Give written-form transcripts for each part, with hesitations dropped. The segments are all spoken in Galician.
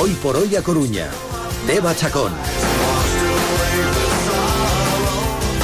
Hoy por hoy a Coruña. Deva Chacón.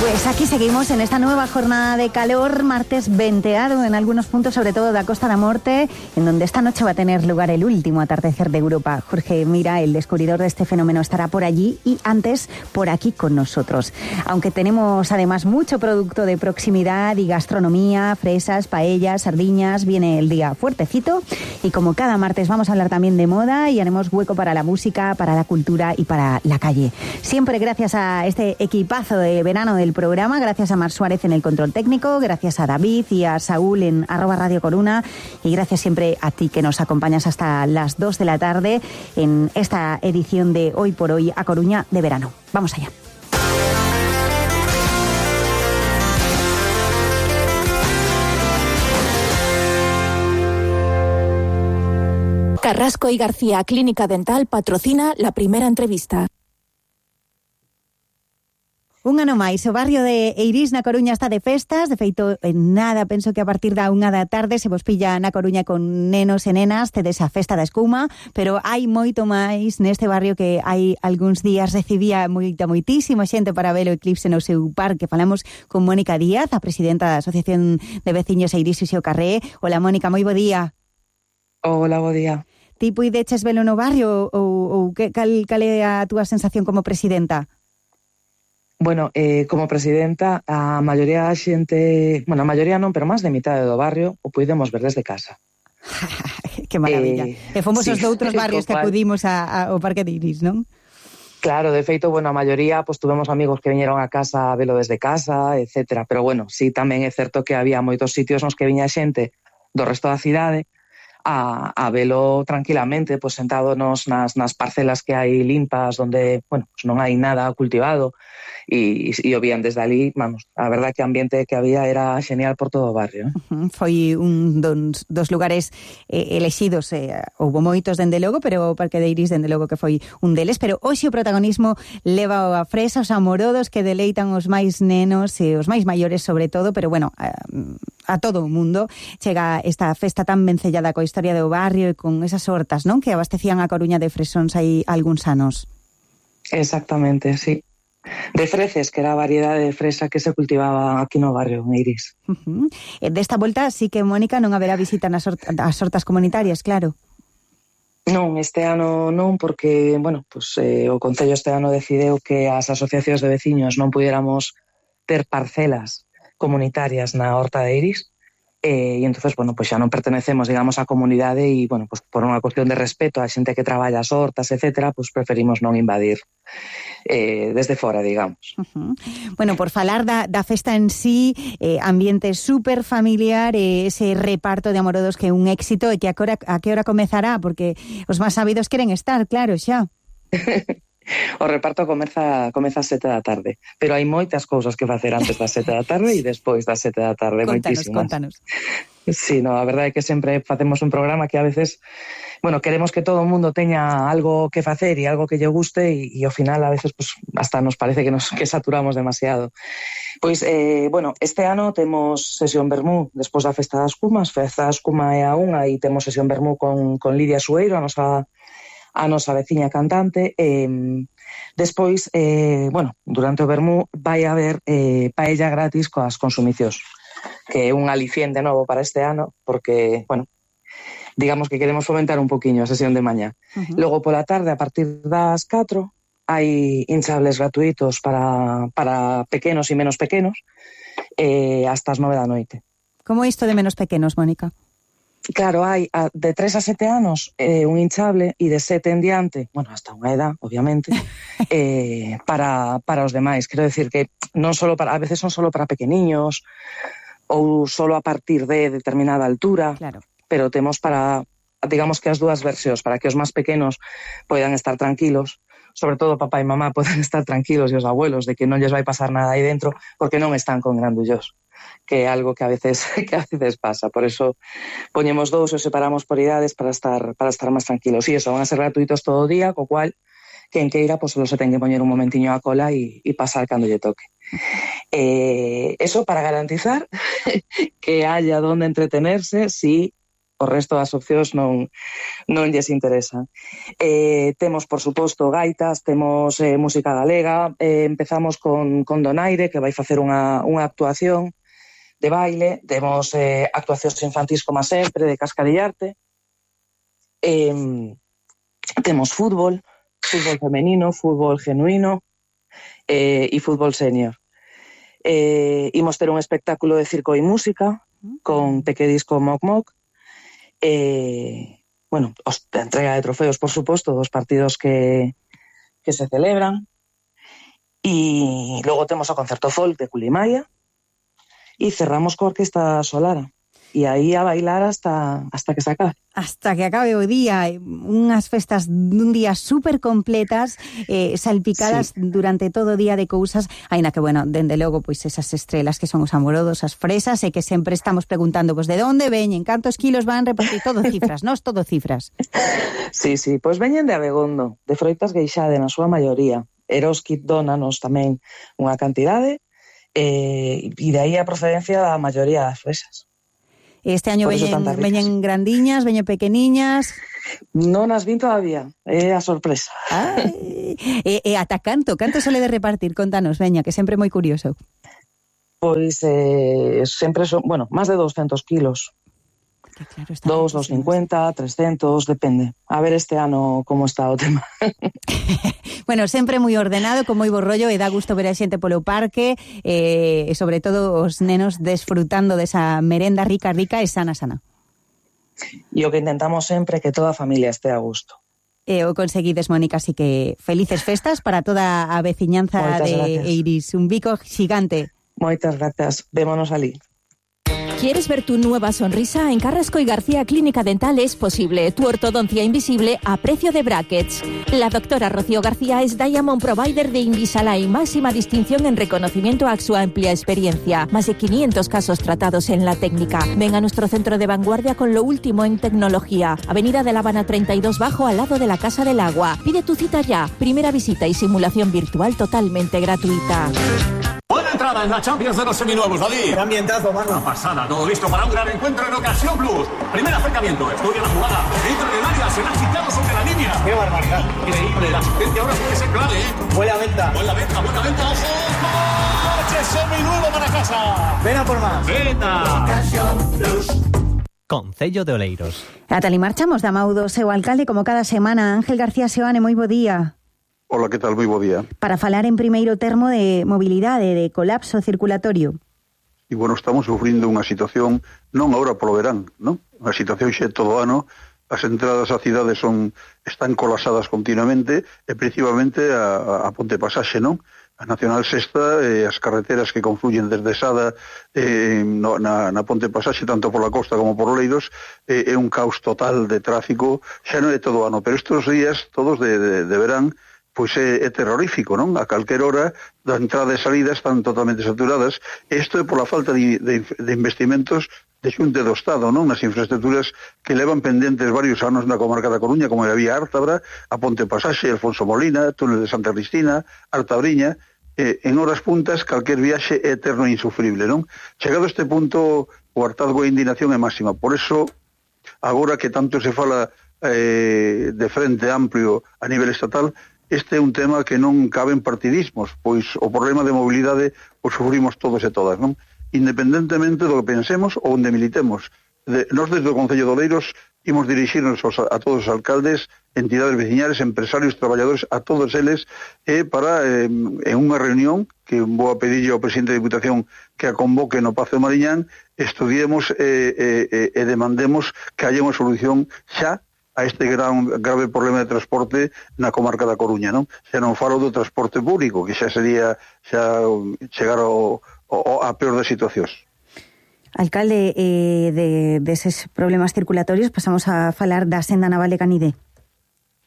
Pues aquí seguimos en esta nueva jornada de calor, martes venteado en algunos puntos, sobre todo de la Costa da Morte, en donde esta noche va a tener lugar el último atardecer de Europa. Jorge Mira, el descubridor de este fenómeno, estará por allí y antes por aquí con nosotros. Aunque tenemos además mucho producto de proximidad y gastronomía, fresas, paellas, sardiñas, viene el día fuertecito y como cada martes vamos a hablar también de moda y haremos hueco para la música, para la cultura y para la calle. Siempre gracias a este equipazo de verano del programa, gracias a Mar Suárez en el control técnico, gracias a David y a Saúl en @Radio Coruna y gracias siempre a ti que nos acompañas hasta las 2 de la tarde en esta edición de Hoy por Hoy a Coruña de verano. Vamos allá. Carrasco y García Clínica Dental patrocina la primera entrevista. Un ano máis, o barrio de Eirís na Coruña está de festas, de feito en nada, penso que a partir da 1 da tarde se vos pilla na Coruña con nenos e nenas, tedes a festa da escuma, pero hai moito máis neste barrio que hai algúns días recibía moitísima xente para ver o eclipse no seu parque. Falamos con Mónica Díaz, a presidenta da Asociación de Veciños Eirís e Xeo Carré. Hola Mónica, moi bo día. Hola, bo día. Ti puideches velo no barrio ou cal é a túa sensación como presidenta? Bueno, como presidenta, a maioría da xente, bueno, a maioría non, pero máis de mitad do barrio o puidemos ver desde casa. Que maravilla. E fomos os doutros barrios que acudimos ao Parque de Eirís, non? Claro, de feito, bueno, a maioría, pues tuvemos amigos que viñeron a casa a velo desde casa, etcétera. Pero bueno, sí, tamén é certo que había moitos sitios nos que viña xente do resto da cidade a velo tranquilamente, pues sentado nas parcelas que hai limpas, donde, bueno, pues non hai nada cultivado, e o vían desde ali, vamos, a verdad que o ambiente que había era genial por todo o barrio. Foi un dos lugares elexidos, houbo moitos dende logo, pero o Parque de Eirís dende logo que foi un deles, pero hoxe o protagonismo leva a fresa, os amorodos que deleitan os máis nenos e os máis maiores sobre todo, pero bueno, a todo o mundo chega esta festa tan vencellada coa historia do barrio e con esas hortas, non? Que abastecían a Coruña de fresóns hai algúns anos. Exactamente, sí. De freces, que era a variedade de fresa que se cultivaba aquí no barrio, en Eirís. Desta volta sí que, Mónica, non haberá visita nas hortas comunitarias, claro. Non, este ano non, porque, bueno, pues, o Concello este ano decideu que as asociacións de veciños non pudiéramos ter parcelas comunitarias na horta de Eirís, e entonces, bueno, pues xa non pertenecemos, digamos, á comunidade e, bueno, pues por unha cuestión de respeto a xente que traballa as hortas, etcétera, pues preferimos non invadir desde fora, digamos. Bueno, por falar da festa en sí, ambiente super familiar, ese reparto de amorodos que é un éxito, e que a que hora comezará, porque os máis sabidos queren estar, claro, xa. O reparto comeza ás 7 da tarde, pero hai moitas cousas que facer antes das 7 da tarde e despois das 7 da tarde, moitísimas. Contanos. Sí, no, a verdade é que sempre facemos un programa que a veces, bueno, queremos que todo o mundo teña algo que facer e algo que lle guste e ao final a veces pues, hasta nos parece que saturamos demasiado. Pois, bueno, este ano temos sesión vermú despois da Festa das Cumas, Festa das Cumas é a 1 e temos sesión vermú con Lidia Sueiro, a nosa veciña cantante. Despois, bueno, durante o vermú vai haber paella gratis coas consumicións, que é un aliciente novo para este ano, porque, bueno, digamos que queremos fomentar un poquinho a sesión de mañá. Logo pola tarde, a partir das 4, hai hinchables gratuitos para pequenos e menos pequenos, hasta as 9 da noite. Como isto de menos pequenos, Mónica? Claro, hai de 3 a 7 anos un hinchable e de 7 en diante, bueno, hasta unha edad, obviamente, para os demais. Quero decir que non solo a veces son solo para pequeniños ou solo a partir de determinada altura, claro. Pero temos para, digamos que as dúas versións, para que os máis pequenos poidan estar tranquilos, sobre todo papá e mamá poden estar tranquilos e os abuelos de que non lles vai pasar nada aí dentro porque non están con grandullos, que é algo que a veces pasa. Por eso poñemos dous e separamos por idades para estar máis tranquilos. E eso, van a ser gratuitos todo o día, co cual quen queira, pues solo se ten que poñer un momentiño a cola e pasar cando lle toque. Eso para garantizar que haya donde entretenerse si o resto das opcións non lles interesan. Temos, por suposto, gaitas, temos música galega, empezamos con Donaire, que vai facer unha actuación de baile, temos actuacións infantís como sempre, de cascarillarte, temos fútbol femenino, fútbol genuino e fútbol senior. Imos ter un espectáculo de circo e música con Pequedisco Moc Moc, bueno, a entrega de trofeos, por suposto, dos partidos que se celebran, e logo temos o concerto folk de Culimaia e cerramos coa Orquesta Solara. E aí a bailar hasta que se acabe. Hasta que acabe o día, unhas festas dun día super completas, salpicadas durante todo o día de cousas, aínda que, bueno, dende logo, pois esas estrelas que son os amorodos, as fresas, e que sempre estamos preguntando, pois, de onde veñen, cantos kilos van repartir, todo cifras, nós todo cifras. Sí, pois veñen de Abegondo, de Froitas Gueixade, na súa maioría. Eroski dónanos tamén unha cantidade, e de aí a procedencia da maioría das fresas. Este año veñen grandiñas, veñen pequeniñas. Non as vin todavía, é a sorpresa. E ata canto sole de repartir? Contanos, veña, que sempre é moi curioso. Pois sempre son, bueno, máis de 200 kilos. Claro, 250, 300, depende. A ver este ano como está o tema. Bueno, sempre moi ordenado, con moi bo rollo, e dá gusto ver a xente polo parque, e sobre todo os nenos desfrutando desa merenda rica e sana. E o que intentamos sempre é que toda a familia estea a gusto. E o conseguides, Mónica, así que felices festas para toda a veciñanza. Moitas de gracias. Eiris. Un bico xigante. Moitas gracias. Vémonos alí. ¿Quieres ver tu nueva sonrisa? En Carrasco y García Clínica Dental es posible. Tu ortodoncia invisible a precio de brackets. La doctora Rocío García es Diamond Provider de Invisalign, máxima distinción en reconocimiento a su amplia experiencia. Más de 500 casos tratados en la técnica. Ven a nuestro centro de vanguardia con lo último en tecnología. Avenida de La Habana 32 Bajo, al lado de la Casa del Agua. Pide tu cita ya. Primera visita y simulación virtual totalmente gratuita. Buena entrada en la Champions de los seminuevos, David. Qué ambientazo, mano. Una pasada, todo listo para un gran encuentro en Ocasión Plus. Primer acercamiento, estudia la jugada. Dentro del área, se la ha quitado sobre la línea. Qué barbaridad. Increíble, la asistencia ahora puede ser clave, ¿eh? Buena venta. Buena venta, ojo. Coche seminuevo para casa. Ven a por más. Venta. Ocasión Plus. Concello de Oleiros. Atali, marchamos da Maudo, seu alcalde, como cada semana, Ángel García Seoane, moi bo día. Hola, que tal? Moi bo día. Para falar en primeiro termo de mobilidade, de colapso circulatorio. E, bueno, estamos sufrindo unha situación, non agora polo verán, non? Unha situación xe todo ano, as entradas á cidade están colapsadas continuamente, e principalmente a Ponte Pasaxe, non? A Nacional Sexta, as carreteras que confluyen desde Sada na Ponte Pasaxe, tanto pola costa como por Oleiros, é un caos total de tráfico, xa non é todo ano, pero estes días, todos de verán, pois é terrorífico, non? A calquer hora da entrada e salida están totalmente saturadas. Isto é pola falta de investimentos de xunte do Estado, non? Nas infraestructuras que levan pendentes varios anos na comarca da Coruña, como a vía Ártabra, a Ponte Pasaxe, Alfonso Molina, túnel de Santa Cristina, Artabriña. En horas puntas, calquer viaxe é eterno e insufrible, non? Chegado a este punto, o hartazgo e a indignación é máxima. Por eso, agora que tanto se fala de frente amplio a nivel estatal, este é un tema que non cabe en partidismos, pois o problema de mobilidade o sufrimos todos e todas, non? Independentemente do que pensemos ou onde militemos. Nós desde o Concello de Oleiros imos dirixirnos a todos os alcaldes, entidades veciñales, empresarios, traballadores, a todos eles, para, en unha reunión, que vou a pedirlle ao presidente da Diputación que a convoque no Pazo de Mariñán, estudiemos e demandemos que haya unha solución xa a este grave problema de transporte na comarca da Coruña, non? Xa non falo do transporte público, que xa sería chegar a peor das situacións. Alcalde, deses problemas circulatorios pasamos a falar da senda naval de Canide.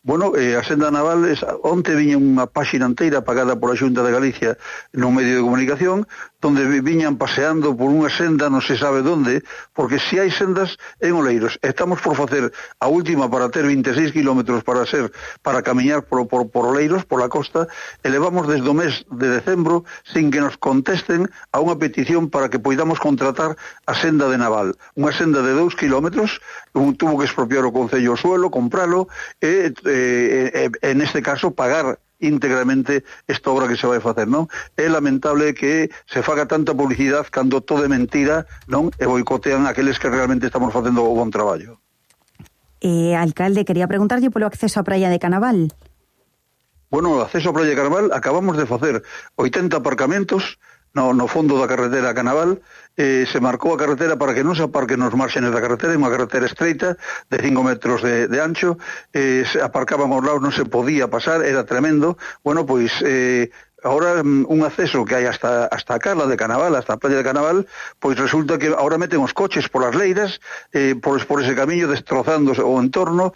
Bueno, a senda naval, onte viña unha páxina inteira pagada pola Xunta de Galicia no medio de comunicación, donde viñan paseando por unha senda non se sabe onde, porque se hai sendas en Oleiros, estamos por facer a última para ter 26 kilómetros para camiñar por Oleiros, por la costa, e levamos desde o mes de decembro sin que nos contesten a unha petición para que poidamos contratar a senda de Naval, unha senda de 2 kilómetros, tuvo que expropiar o Concello o suelo, compralo e neste caso pagar íntegramente esta obra que se vai facer, non? É lamentable que se faga tanta publicidade cando todo é mentira, non? E boicotean aqueles que realmente estamos facendo o bon traballo. Alcalde, quería preguntarlle polo acceso á praia de Canaval. Bueno, o acceso á praia de Canaval acabamos de facer 80 aparcamentos no fondo da carretera a Canaval, se marcou a carretera para que non se aparquen nos márgenes da carretera, unha carretera estreita de 5 metros de ancho, se aparcaban aos lados, non se podía pasar, era tremendo. Bueno, pois ahora un acceso que hai hasta a Cala de Canaval, hasta a playa de Canaval, pois resulta que ahora meten os coches polas leiras, por ese camiño, destrozando o entorno,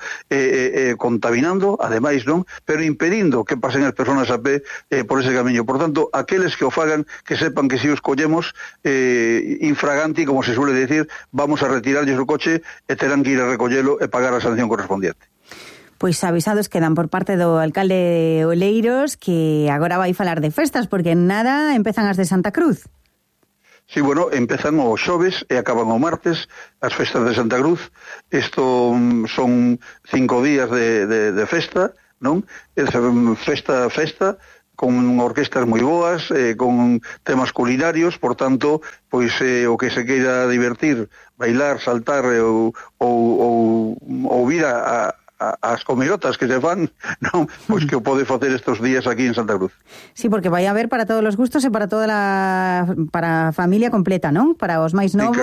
contaminando, ademais, non? Pero impedindo que pasen as persoas a pé por ese camiño. Por tanto, aqueles que o fagan, que sepan que se os collemos infraganti, como se suele decir, vamos a retirarlles o coche e terán que ir a recollelo e pagar a sanción correspondiente. Pois avisados quedan por parte do alcalde de Oleiros, que agora vai falar de festas, porque en nada empezan as de Santa Cruz. Sí, bueno, empezan o xoves e acaban o martes as festas de Santa Cruz. Isto son 5 días de festa, non? Festa, con orquestas moi boas, con temas culinarios, por tanto, pois o que se queira divertir, bailar, saltar ou vir as comirotas que se fan, non, pois que o pode facer estes días aquí en Santa Cruz. Sí, porque vai a haber para todos os gustos e para toda para a familia completa, non? Para os máis novos.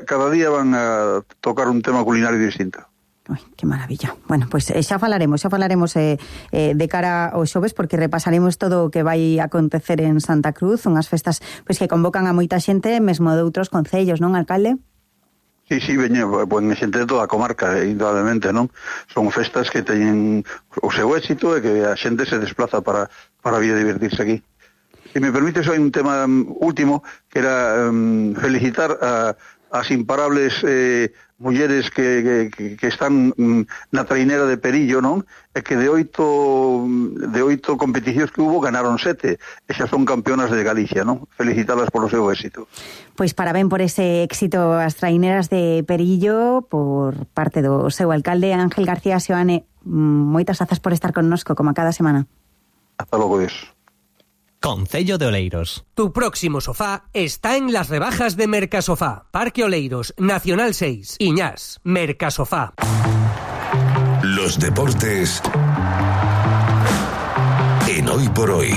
Cada día van a tocar un tema culinario distinto. Ai, que maravilla. Bueno, pois xa falaremos de cara aos xoves, porque repasaremos todo o que vai acontecer en Santa Cruz, unhas festas pois que convocan a moita xente, mesmo de outros concellos, non, alcalde? Sí, veña, xente de toda a comarca, indudablemente, non? Son festas que teñen o seu éxito e que a xente se desplaza para vir a divertirse aquí. Se me permite, hai un tema último, que era felicitar as imparables mulleres que están na trainera de Perillo, non? E que de 8 competicións que hubo ganaron 7, e xa son campeonas de Galicia, non? Felicitalas polo seu éxito. Pois parabén por ese éxito as traineras de Perillo por parte do seu alcalde Ángel García Seoane. Moitas grazas por estar connosco, como a cada semana. Hasta logo, Dios. Concello de Oleiros. Tu próximo sofá está en las rebajas de Mercasofá. Parque Oleiros, Nacional 6, Iñás, Mercasofá. Los deportes en Hoy por Hoy.